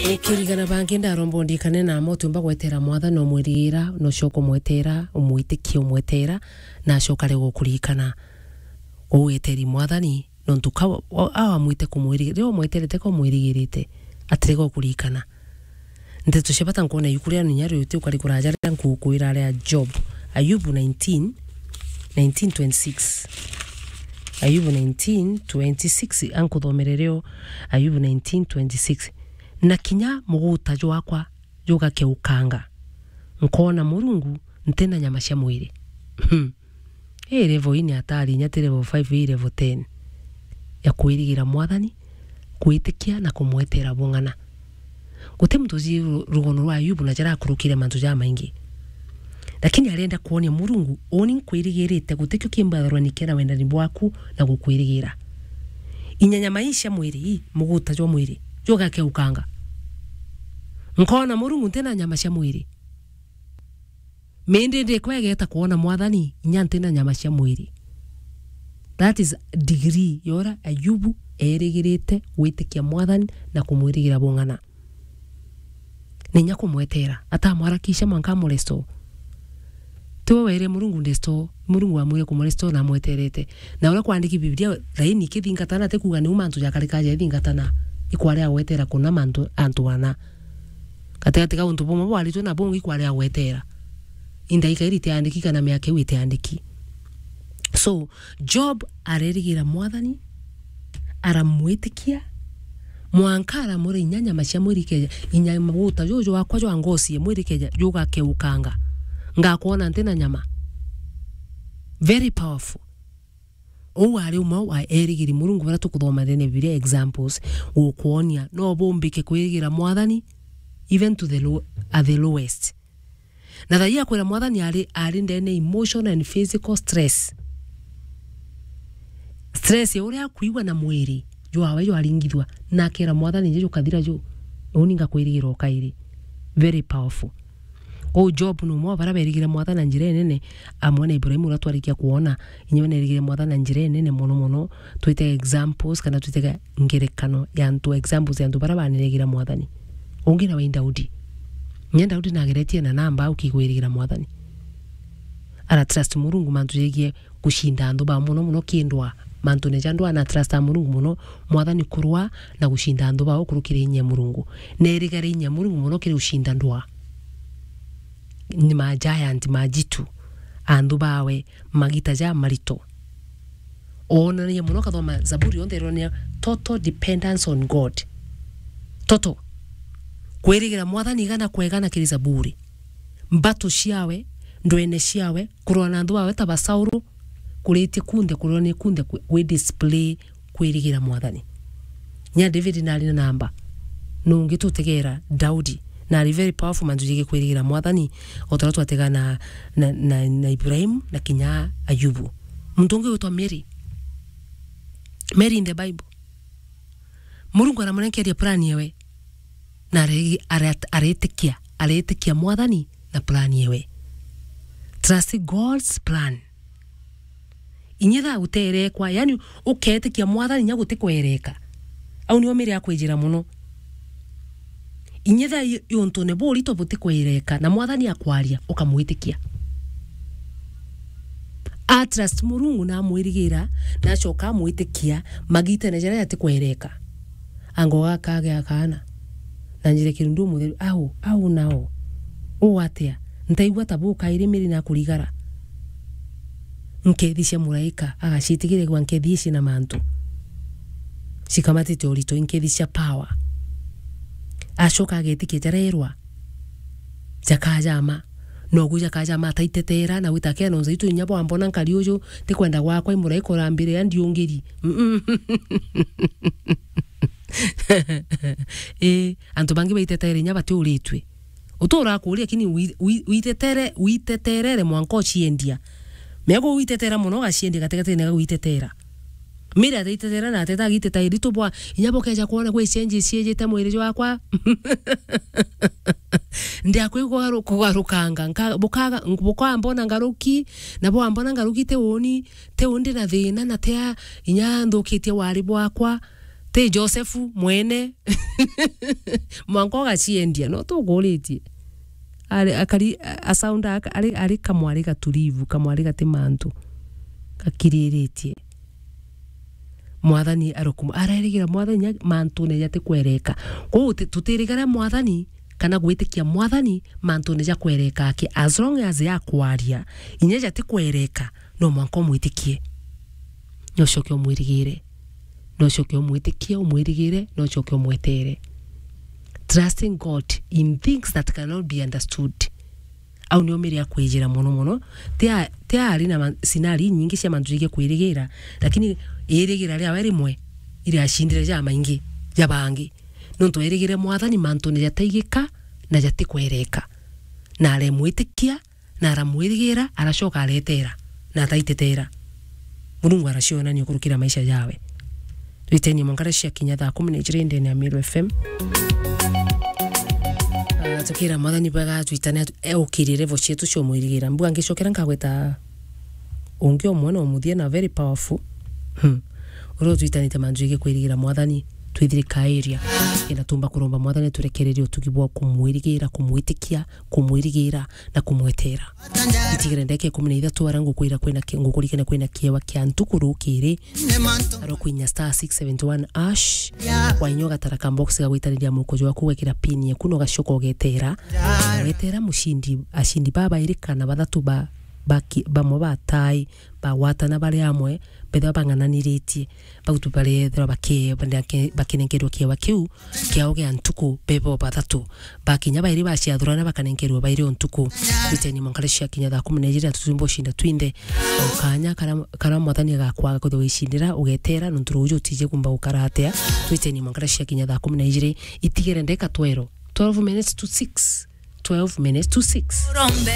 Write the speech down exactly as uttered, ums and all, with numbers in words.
Kirigana bangi ndaromba undikane na mo, utiumba gwetera Mwathani umwirigira, no cio kumwetera, umwitikia, umwetera, na acoka arega gukuririkana. Ugweteri Mwathani, nontu ka wa-, wa-, a wamwite kumwirigira, riria umweterete ka umwirigirite, atirega gukuririkana. Nteto cia bata nkwona iuku ria ninya riu ti ukari kuraja riria nkukwira ria Job, Ayubu nineteen, nineteen twenty-six. Ayubu nineteen twenty-six, ankuthomere rio, Ayubu nineteen twenty-six. Na kinya muguta jwakwa jugakeukanga, nkoona Murungu ntina nyama cia mwiri. Hmm. Ii level ii ni hatari, inya ti level five, ii level ten ya kwirigira Mwathani, kwitikia na kumwetera bung'ana. Guti muntu uji ru-, rugono rwa Ayubu na jarakurukire mantu jamaingi. Lakini arenda kwonia Murungu, uuni nkwirigirite, gutikio kimbatharwa nikia na wendani bwaku na gukwirigira. Inya nyama ii cia mwiri ii, muguta jwa mwiri, jugakeukanga. Nkoona Murungu ntina nyama cia mwiri. Mindi ndikwa igeta kwona Mwathani, inya ntina nyama cia mwiri. That is degree ya uria Ayubu erigirite gwitikia Mwathani na kumwirigira bung'ana. Ninya kumwetera, atamwarakisha mwanka amurestore. Tiwe were Murungu ndestore, Murungu wamwire kumurestore na amweterete. Na uria kwandiki Biblia, thaini ikithingatana, ti kuuga niu mantu jakarika jaithingatana, ikwari agwetera kuna mantu, antu ana. Gatigati ga untu bumwe bwaritwe na bungi kwari agwetera. Indaika iri itiandiki kana miaka iu itiandiki. So, Job arerigira Mwathani, aramwitikia, mwanka aramwira, inya nyama cia mwiri ikeja, inya maguta juju wakwa jwa ngoci ya mwiri ikeja, jugakeukanga. Ngakwona ntina nyama. Very powerful. Uu ari umwe wa erigiri Murungu baria tukuthoma ndene Bibilia, examples, gukwonia no bumbike kwirigira Mwathani, even to the low, at the lowest. Na thaii akwira Mwathani ari, ari ndene emotional and physical stress. Stress ya uria akwigua na mwiri jwawe jwaringithua, na akera Mwathani, nje jukathira ju, uni ngakwirigira o kairi. Very powerful. Kwou Job ni umwe wa baria berigire Mwathani na njira inene, amwe na Ibrahimu uria twarikia kwona, inya we nerigire Mwathani na njira inene mono mono. Twite examples kana twitega ngerekano ya antu, examples ya antu baria banirigira Mwathani. Ungi nawe i Daudi. Inya Daudi nageretie na namba au kigwirigira Mwathani. Ara trust Murungu mantu jegie gucinda anthu ba mono mono kindwa, mantune ja ndwa na trust a Murungu mono, Mwathani kurwa na gucinda anthu bao kurukira inya ya Murungu. Nerigare inya ya Murungu mono kiri gucinda ndwa. Ni ma giant, majitu, anthu bawe, magita ja marito. Oonanagia mono kathoma Zaburi yonthe ironia total dependence on God. Total. Kwirigira Mwathani igana kwa igana kiri Zaburi. Mbatu ciawe, ndwene ciawe, kurwa na anthu bawe ta ba Saulu, kuritie kunthe, kurwa ni kunthe, kwi, kwi display kwirigira Mwathani. Nya David nari na namba. Nungi tutegera Daudi. Nari very powerful mantu jegie kwirigira Mwathani, o ta uria twatega na, na, na, na Ibrahim na kinya Ayubu. Muntu ungi witwa Mary. Mary in the Bible. Murungu aramurenkeria plan yewe. Na are-, are-, aretikia, aretikia Mwathani na plan yewe. Trust God's plan. Inya thaa guterekwa, yani uketikia Mwathani inya gutikwereka. Au nio Mary akwijira mono. Inya thaa i-, i untune burito butikwereka, na Mwathani akwaria, ukamwitikia. A trust Murungu na amwirigira, na acoka amwitikia magitene jaria jatikwereka. Angoga akagea kaana. Na njire kirundu mutheru, au, au nao. Uu atia? Ntaigua ta bu kairi Mary na kurigara. Nkethi cia muraika, agaciitigiregwa nkethi ici na mantu. Cikamatite urito, nkethi cia power. Acoka agetikia jarerwa. Jakajama. Nogu jakajama ataitetera, na gwita kea nonza itu inya bwambona nkari uju, ti kwenda gwakwa, i muraika urambire, ya ndiungiri. Mm-mm. Ii, antu bangi baitetere inya batiuritwe. Utura akuria, lakini wi-, wi-, witetere, witeterere mwanka uciendia. Mea ku witetera mono, ugaciendia gatigatine ga gwitetera. Mary ataitetera na ateta agiteta iritu bwa, inya bukeja kwona gwi change ciejite mwiri jwakwa. Ndiakwi kugaru-, kugarukanga, nka-, bukaga, bukambona ngaruki, na bwambona ngaruki ti uni, ti undi na thina, na tia inya nthukitie wari bwakwa. Ti Josefu mwene. Mwanka ugaciendia, no tukuritie. Ari, akari, a, a sound aka, ari, ari kamwari gatulivu, kamwari gati mantu, gakiriritie. Mwathani arokum-, arerigira Mwathani nya-, mantune jatikwereka. Kwou ti-, tutirigira Mwathani kana gwitikia Mwathani mantune jakwereka aki. As long as yakwaria, inya jatikwereka, no mwanka umwitikie. No ucoke umwirigire. No ucoke umwitikie, umwirigire, no ucoke umwetere. Trusting God in things that cannot be understood. Au nio miri ya kwijira mono mono. Ti a-, ti ari na ma-, sinari nyingi cia mantu jigi kwirigira, lakini irigira riawe rimwe iriacindire ja maingi, ja bangi. Nontu erigire Mwathani mantune jataigika na jatikwereka. Na aremwitikia, na aramwirigira, aracoka aretera, na ataitetera. Murungu aracionania kurukira maisha jawe. Twitenie mwankara cia kinya thaa kumi na ijiri ndene ya Meru F M. Ah, tukira Mwathani bwega, twitane atu-, e, ukirire vo cietu cio mwirigira. Mbua ngicokera nkagweta ungi umwe na umuthia na very powerful. Hmm. Uria utwitanite mantu jigi kwirigira Mwathani, twithirika area. Kenda tumba kuromba Mwathani turekererie utugi bwa kumwirigira, kumwitikia, kumwirigira na kumwetera. Itigere ndeke ikumi na ithatu ara ngukwira kwina ki-, ngukurikania kwina kiewa kia ntuku rukiri. Aro kwinya star six seventy one ash. Kwa inya ugatara ka box gagwitaniria muko jwaku, ugekira pin yaku na ugacoka ugetera. Ugetera mucindi, acindi babairi kana bathatu ba, ba ki-, bamwe ba tai, bagwatana bari amwe, bethirwa bang'ananiritie. Bau tu barethirwa baki-, baki-, bakinenkerwa kiewa kiu kiao gia ntuku, bebo bathatu. Bakinya bairi baciathurana, bakanenkerwa bairi o ntuku. Twiteni mwankare ciakinya thaa kumi na ijiri, na tutumba ucinda twinthe. O kanya kara, kara Mwathani agakwaga kwithirwa wicindira, ugetera, nontu ruuju utiji kumba gukara atia. Twiteni mwankare ciakinya thaa kumi na ijiri, itigere ndeka twero. Twelve minutes to six. Twelve minutes to six.